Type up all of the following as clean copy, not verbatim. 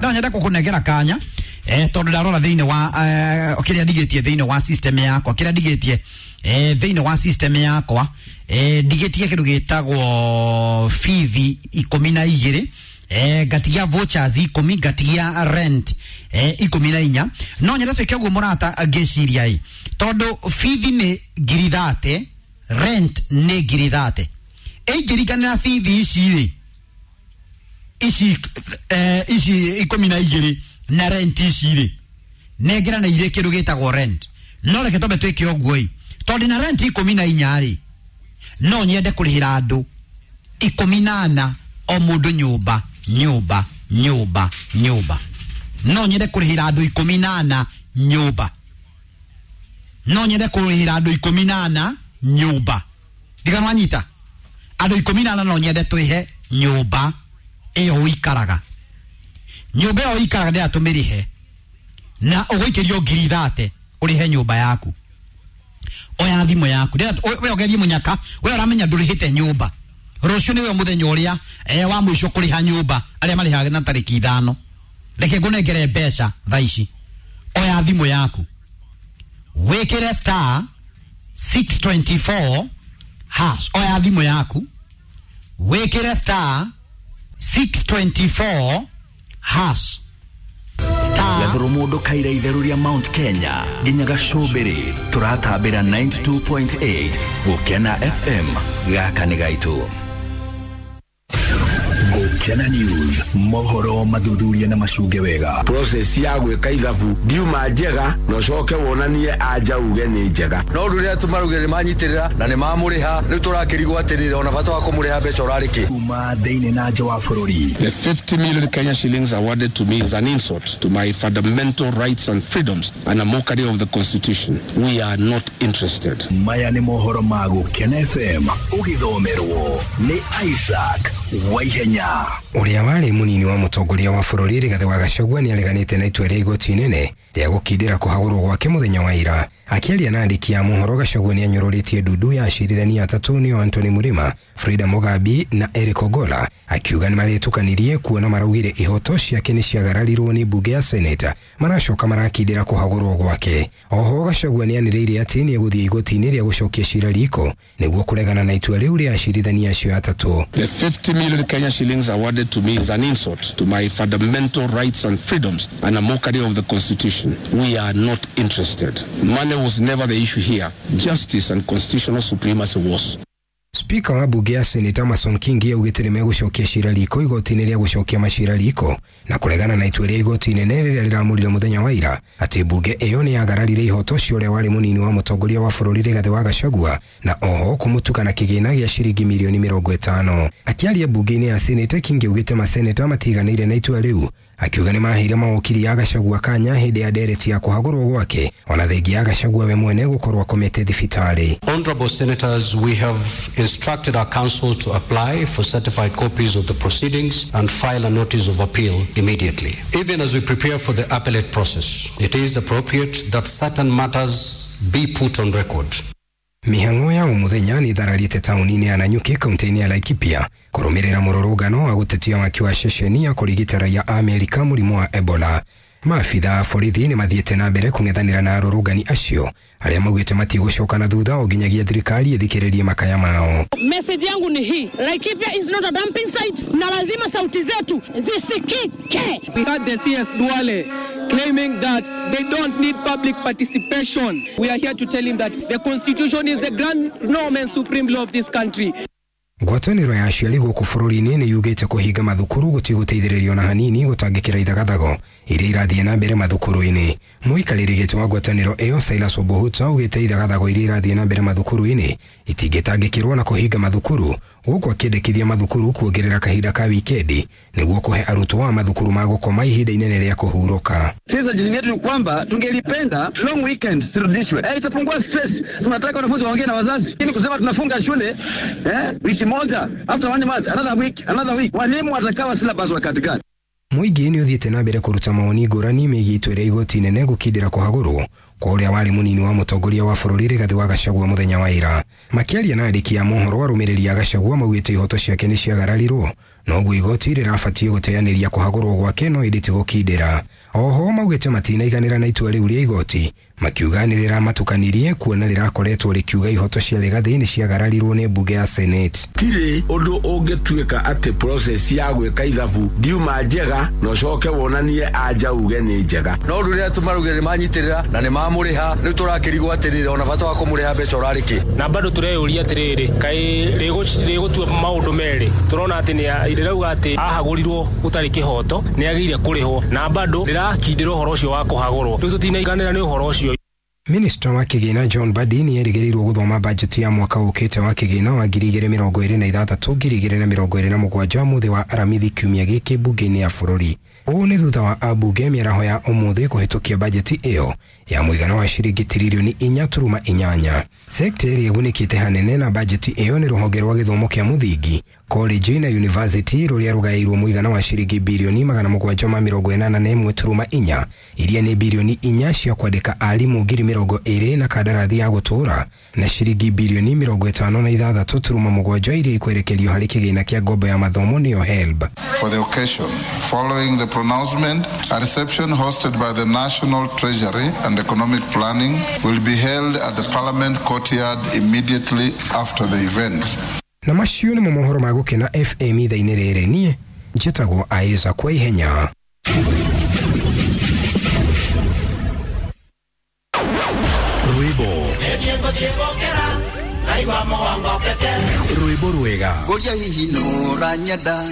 No nyenda kukunengera kanya tondu ndarora thiini wa kiria ndigitie thiini wa system yakwa, kiria ndigitie thiini wa system yakwa, ndigitie kindu gitagwo fithi 12, ngatigia vouchers 10, ngatigia rent 14. No nyenda twike uguo murata, ngiciria i tondu fithi ni ngiri 30, rent ni ngiri 30, ingirikanira fithi ici ri ici ici 12 na rent ici rĩ nengerana irĩ kĩndũ gĩtagwo rent. No reke twambe twĩke ũguo ĩ, tondũ na rent 14 rĩ, no nyende kũrĩhĩra andũ 14 o mũndũ nyũmba nyũmba nyũmba nyũmba. No nyende kũrĩhĩra andũ 14 nyũmba, no nyende kũrĩhĩra andũ 14 nyũmba. Ndiganwanyita andũ 14, no nyende twĩhe nyũmba ĩyo ũikaraga, nyũmba ĩyo ũikaraga ndĩra tũmĩrĩhe na ũgũikĩrio ngiri 30 ũrĩhe nyũmba yaku. Oya thimũ yaku, we ũgerie mũnyaka, we ũramenya ndũrĩhĩte nyũmba, rũciũ nĩwe mũthenya ũrĩa wa mũico kũrĩha nyũmba, arĩa marĩhaga na tarĩki 5. Reke ngũnengere mbeca thaa ici. Oya thimũ yaku, wĩkĩre star 624 hash. Oya thimũ yaku, wĩkĩre star 624 hash. Star Gathuru mundu kaira itheru ria Mount Kenya nginya gacumbiri turatambira 92.8 Gukena FM. Gaka ni gaitu. Gukena News, mohoro mathuthuria na macunge wega. Process ya gwika ithabu ndiuma njega na ucoke wonanie anja uge ni njega. No rĩrĩa tũmarugire nĩ manyitĩrĩra na nĩ mamũrĩha, rĩu tũrakĩrigwo atĩrĩrĩ, ona bata wa kũmũrĩha mbeca ũrarĩ kĩ? Kuma thĩinĩ na nja wa bũrũri. The 50 million Kenya shillings awarded to me is an insult to my fundamental rights and freedoms and a mockery of the constitution. We are not interested. Maya nĩ mohoro ma Gukena FM ũgĩthomerwo nĩ Isaac Waihenya. Ũrĩa warĩ mũnini wa mũtongoria wa bũrũri Rigathĩ wa Gachagua nĩ areganĩte na itua rĩa igoti inene rĩa gũkindĩra kũhagũrwo gwake mũthenya wa ira. Akĩaria na andĩki a mohoro, Gachagua nĩ anyũrũrĩtie ndundu ya acirithania atatũ nĩo Anthony Murima, Frida Mugambi na Eric Ogola, akiuga nĩ marĩtukanirie kuona maraugire ihoto ciake nĩ ciagararirwo nĩ mbunge ya Senate, maracoka marakindĩra kũhagũrwo gwake. Oho Gachagua nĩ anĩrĩire atĩ nĩ egũthiĩ igoti-inĩ rĩa gũcokia cira riko nĩguo kũregana na itua rĩu rĩa acirithania acio atatũ. The 50 million Kenya shillings awarded to me is an insult to my fundamental rights and freedoms and a mockery of the constitution. We are not interested. Money was never the issue here. Justice and constitutional supremacy was. Spika wa bunge ya Senate Amason Kingi augĩte nĩ megũcokia cira riko igoti-inĩ rĩa gũcokia macira riko na kũregana na itua rĩa igoti inene rĩrĩa rĩramũrire mũthenya wa ira atĩ mbunge ĩyo nĩ yagararire ihoto cia ũrĩa warĩ mũnini wa mũtongoria wa bũrũri Rigathĩ wa Gachagua na oho kũmũtuka na kĩgĩna gĩa ciringi mirioni 50. Akĩaria mbunge-inĩ ya Senate, Kingi augĩte maseneta matiganĩire na itua rĩu, akiuga nĩ maheire mawokiri ya Gachagua kanya hĩndĩ ya ndereti ya kũhagũrwo gwake ona thengia ya Gachagua we mwene gũkorwo akomete thibitarĩ. Honorable Senators, we have instructed our counsel to apply for certified copies of the proceedings and file a notice of appeal immediately. Even as we prepare for the appellate process, it is appropriate that certain matters be put on record. Mĩhang'o ya o mũthenya nĩ ĩthararĩte taũni-inĩ ya Nanyuki kaunti-inĩ ya Laikipia kũrũmĩrĩra mũrũrũngano wa gũtetia waki wa ceceni ya kũrigita raia a Amerika mũrimũ wa Ebola. Maabitha a borithi nĩ mathiĩte na mbere kũng'ethanĩra na arũrũngani acio arĩa maugĩte matigũcoka na thutha o nginyagia thirikari ĩthikĩrĩrie makaya mao. Message yangu ni hii, Laikipia is not a dumping site na lazima sauti zetu zisikike. We had the CS Duale claiming that they don't need public participation. We are here to tell him that the constitution is the grand norm and supreme law of this country. Ngwatanĩro ya aciari gũkũ bũrũri-inĩ nĩ yugĩte kũhinga mathukuru gũtigũteithĩrĩrio na hanini gũtangĩkĩra ithagathago iria irathiĩ na mbere mathukuru-inĩ. Mũikarĩri gĩtĩ wa ngwatanĩro ĩyo Silas Obohuta augĩte ithagathago iria irathiĩ na mbere mathukuru-inĩ itingĩtangĩkĩrwo na kũhinga mathukuru, gũkũ akĩendekithia mathukuru kuongerera kahinda ka wikendi nĩguo kũhe arutwo a mathukuru ma gũkoma ihinda inene rĩa kũhurũka. Sisi ajili yetu ni kwamba tungelipenda long weekend zirudishwe. Itapungua stress. Tunataka wanafunzi waongee na wazazi. Lakini kusema tunafunga shule wiki moja, after one month, another week, another week. Walimu watakawa syllabus wakati gani? Mũingĩ nĩ ũthiĩte na mbere kũruta mawoni ngũrani megiĩ itua rĩa igoti inene gũkindĩra kũhagũrwo kwa ũrĩa warĩ mũnini wa mũtongoria wa bũrũri Rigathĩ wa Gachagua mũthenya wa ira. Makĩaria na andĩki a mohoro, arũmĩrĩri a Gachagua maugĩte ihoto ciake nĩ ciagararirwo, noguo igoti rĩrabatiĩ gũteanĩria kũhagũrwo gwake no ĩndĩ ti gũkindĩra. Oho maugĩte matinaiganĩra na itua rĩu rĩa igoti, makiuga nĩ rĩramatukanirie kuona rĩrakoretwo rĩkiuga ihoto cia Rigathĩ nĩ ciagararirwo nĩ mbunge ya Senate. Tirĩ ũndũ ũngĩtuĩka atĩ process ya gwĩka ithabu ndiuma njega na ũcoke wonanie anja uge nĩ njega. No rĩrĩa tũmarugire nĩ manyitĩrĩra na nĩ mamũrĩha, rĩu tũrakĩrigwo atĩrĩrĩ, ona bata wa kũmũrĩha mbeca ũrarĩ kĩ? Na bado tũreyũria atĩrĩrĩ, kaĩ rĩgũtua maũndũ merĩ? Tũrona atĩ rĩrauga atĩ ahagũrirwo gũtarĩ kĩhoto, nĩ agĩrĩire kũrĩhwo, na bado rĩrakindĩra ũhoro ũcio wa kũhagũrwo. Rĩu tũtinaiganĩra nĩ ũhoro ũcio. Minista wa kĩgĩna John Mbadi nĩ erĩgĩrĩirwo gũthoma bajeti ya mwaka ũkĩte wa kĩgĩna wa 2026 2027 mũthĩ wa Aramithi kiumia gĩkĩ mbunge-inĩ ya bũrũri. Ũũ nĩ thutha wa ambunge mĩaraho ya ũmũthĩ kũhĩtũkia bajeti ĩyo ya mũigana wa ciringi tiririoni 4.8. Sekta ĩrĩa ĩgunĩkĩte hanene na bajeti ĩyo nĩ rũhonge rwa gĩthomo kĩa mũthingi, college na university, rũrĩa rũgaĩirwo mũigana wa ciringi birioni 781.4, iria nĩ birioni 4 cia kwandĩka arimũ 20,000 na kandarathi ya gũtũũra, na ciringi birioni 56.7 iria ikwerekerio harĩ kĩgĩna kĩa ngombo ya mathomo nĩyo HELB. For the occasion, following the pronouncement, a reception hosted by the National Treasury and Economic Planning will be held at the Parliament courtyard immediately after the event. Na macio nĩmo mohoro ma Gũkena FM ithaa-inĩ rĩrĩ. Niĩ njĩtagwo Isaac kwa ihenya. Rwĩmbo rwĩmbo rwega Ngũria hihi nũranyenda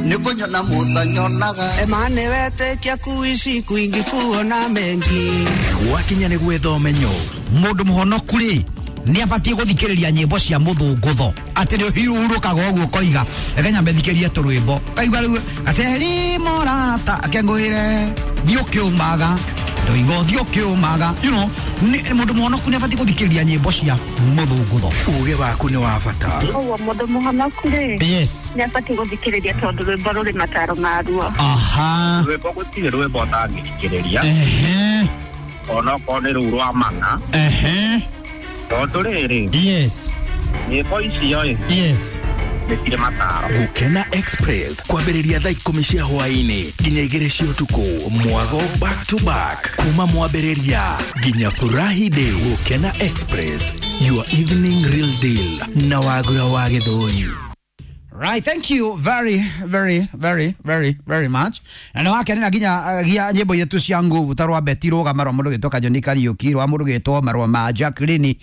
nĩ kũnyona mũtanyonaga Emane wetĩkia kuishi kwingi kuona mengi. Gwakinya nĩ gwetha ũmenyo. Mũndũ mũhonoku rĩ nĩ abatiĩ gũthikĩrĩria nyĩmbo cia mũthũngũtho, atĩ nĩ ũhurũkaga ũguo ũkoiga reke nyambe thikĩrie tũrwĩmbo, kaigua rĩu gaceri morata akengũĩre thiĩ ũkĩũmaga ndoiga ũthiĩ ũkĩũmaga, you know, mũndũ mũhonoku nĩ abatiĩ gũthikĩrĩria nyĩmbo cia mũthũngũtho. Ũgĩ waku nĩ wa bata. Ũguo mũndũ mũhonoku rĩ, yes, nĩ abatiĩ gũthikĩrĩria tondũ rwĩmbo rũrĩ mataro maruo. Aha. Rwĩmbo gũtirĩ rwĩmbo ũtangĩthikĩrĩria. Ehe. Onokorwo nĩ rũu rwa mana. Ehe. Tondũ rĩrĩ, yes, nyĩmbo icio ĩ, yes, nĩ cirĩ mataro. Gũkena Express kwambĩrĩria thaa 10 cia hwaĩ-inĩ nginya 2 cia ũtukũ, mwago back to back kuma mwambĩrĩria nginya furahi day. Gũkena Express, your evening real deal na Wagura wa Gĩthũri. Right, thank you very very very very very much. Na nĩ wakenera nginya gia nyĩmbo itũ cia nguvu ta rwa Betty Rũgama rwa mũndũ gĩtwo Kajoni Kariũki, rwa mũndũ gĩtwo marwa ma Jacqueline,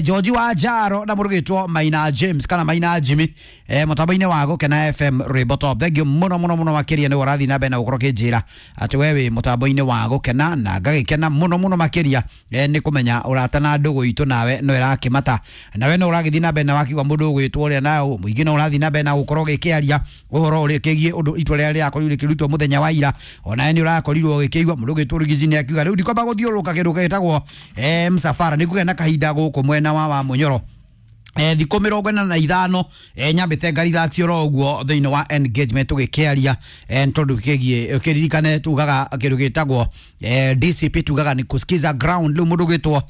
George wa Jaro na mũndũ gĩtwo Maina James kana Maina Jimmy, mũtambo-inĩ wa Gũkena FM rwĩmbo top. Thank you mũno mũno mũno makĩria nĩ ũrathiĩ na mbere na gũkorwo kĩnjĩra atĩ we wĩ mũtambo-inĩ wa Gũkena, na ngagĩkena mũno mũno makĩria nĩ kũmenya ũrata na ndũgũ itũ nawe no ĩrakĩmata, nawe no ũragĩthiĩ na mbere na wakiuga mũndũ ũgwĩtwo ũrĩa na mũingĩ no ũrathiĩ na mbere na gũkorwo gĩkĩaria ũhoro ũrĩa kĩgiĩ ũndũ itua rĩrĩa rĩrakorirwo rĩkĩrutwo mũthenya wa ira. Onawe nĩ ũrakorirwo ũgĩkĩigua mũndũ ũgĩtwo Rigiji nĩ akiuga rĩu ndikwamba gũthiũrũrũka kĩndũ gĩtagwo msafara, nĩ kũgĩa na kahinda gũkũ mwena wa Munyoro thikũ 45 nyambĩte ngariracio ro ũguo thĩinĩ wa engagement tũgĩkĩaria tondũ kĩgiĩ ũkĩririkane tugaga kĩndũ gĩtagwo DCP, tugaga nĩ kusikiza ground. Rĩu mũndũ ũgĩtwo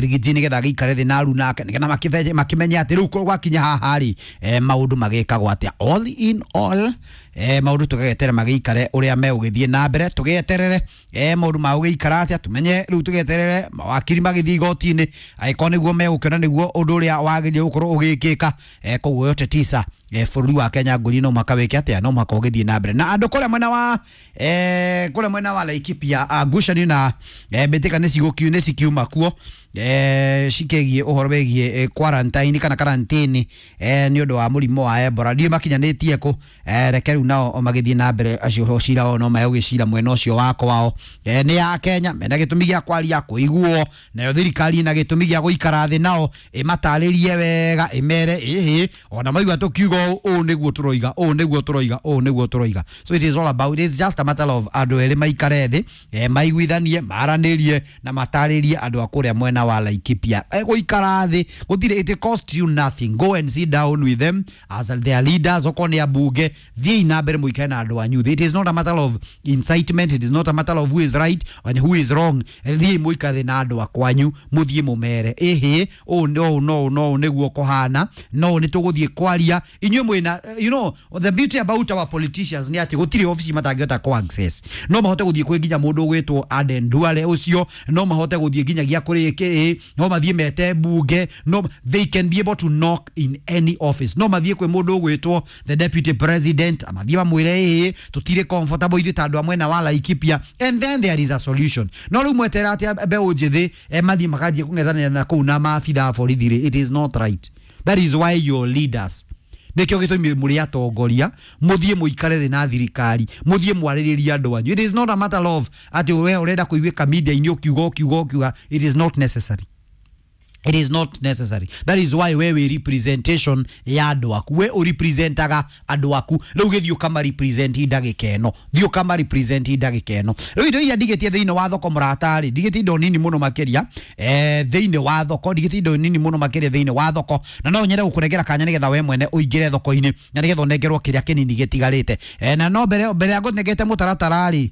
Rigiji nĩgetha agĩikare thĩ na aruna ake nĩgetha makĩmenye atĩ rĩu gwakinya haha rĩ maũndũ magĩkagwo atĩa. All in all maũndũ tũgeterere magĩikare ũrĩa megũgĩthiĩ na mbere, tũgĩeterere maũndũ magũgĩikara atĩa, tũmenye rĩu tũgĩeterere mawakiri magĩthiĩ igoti-inĩ angĩkorwo nĩguo megũkĩona nĩguo ũndũ ũrĩa wagĩrĩire gũkorwo ũgĩkĩka. Koguo yote tisa bũrũri wa Kenya ngũri no mũhaka wĩke atĩa, no mũhaka ũgĩthiĩ na mbere. Na andũ kũrĩa mwena wa kũrĩa mwena wa Laikipia ngucanio na mbĩtĩka nĩ cikiuma kuo cikĩgiĩ ũhoro wĩgiĩ quarantine kana karantini nĩ ũndũ wa mũrimũ wa Ebola. Ndiũ makinyanĩtie kũ, reke rĩu nao magĩthiĩ na mbere acio cira o no megũgĩcira mwena ũcio wa kwao. Nĩ ya Kenya mena gĩtũmi gĩa kwaria kũiguo, nayo thirikari ĩna gĩtũmi gĩa gũikara thĩ nao ĩmatarĩrie wega ĩmere ĩhĩ ona maigua tũkiuga ũũ nĩguo tũroiga, ũũ nĩguo tũroiga, ũũ nĩguo tũroiga. So it is all about, it's just a matter of andũ erĩ maikare thĩ maiguithanie, maranĩrie na matarĩrie andũ a kũrĩa mwena wa Laikipia gũikara thĩ gũtirĩ, it cost you nothing. Go and sit down with them as their leaders. Okorwo nĩ ambunge, thiĩi na mbere mũikare na andũ anyu thĩ. It is not a matter of incitement, it is not a matter of who is right and who is wrong. Thiĩi mũikare thĩ na andũ akwanyu, mũthiĩ mũmere ĩhĩ, ũũ no no no nĩguo kũhana, no nĩ tũgũthiĩ kwaria inyuĩ mwĩna. You know the beauty about our politicians nĩ atĩ gũtirĩ obici matangĩhota kũ access. No mahote gũthiĩ kwĩ nginya mũndũ ũgwĩtwo Aden Duale ũcio, no mahote gũthiĩ nginyagia kũrĩ kĩ, no mathiĩ mete bunge, no, they can be able to knock in any office. No mathiĩ kwĩ mũndũ ũgwĩtwo the deputy president, mathiĩ mamwĩre ĩĩ, tũtirĩ comfortable ithuĩ ta andũ a mwena wa Laikipia, and then there is a solution. No rĩu mwetera atĩ mbeũ njĩthĩ mathiĩ makanjia kũng'ethanĩra na kũu na maabitha a borithi rĩ, it is not right. That is why your leaders, nĩkĩo gĩtũmi mũrĩ atongoria, mũthiĩ mũikare thĩ na thirikari, mũthiĩ mwarĩrĩrie andũ anyu. It is not a matter of atĩ we ũrenda kũiguĩka media-inĩ ũkiuga ũkiuga ũkiuga. It is not necessary, it is not necessary. That is why we wĩ representation ya andũ aku, we ũrepresentaga andũ aku. Rĩu gĩthiĩ ũkama represent ndagĩka ĩno, thiĩ ũkama represent ndagĩka ĩno. Rĩu indo iria ndigĩtie thĩinĩ wa thoko, mũratarĩ, ndigĩtie indo nini mũno makĩria thĩinĩ wa thoko, ndigĩtie indo nini mũno makĩria thĩinĩ wa thoko, na no nyende gũkũnengera kanya nĩgetha we mwene ũingĩre thoko-inĩ na nĩgetha ũnengerwo kĩrĩa kĩnini gĩtigarĩte. Na no mbere mbere ya ngũnengete mũtaratara rĩ.